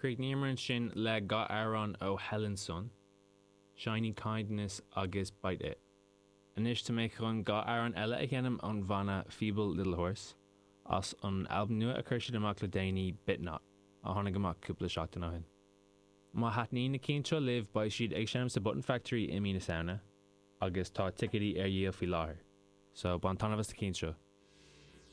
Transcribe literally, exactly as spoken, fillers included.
Chríochnaíomar ansin le dhá amhrán ó Helen Sun, Shiny Kindness agus Bite It. Anois tá mé chun dhá amhrán eile a sheinm ón bhanna Feeble Little Horse as an albam nua a chuir siad amach le déanaí Bitnot a tháinig amach cúpla seachtain ó shin. Má thaitníonn na cinn seo libh beidh siad ag seinm sa Button Factory i mí na Samhna agus tá ticéidí ar dhíol faoi láthair. So bain taitneamh as na cinn seo.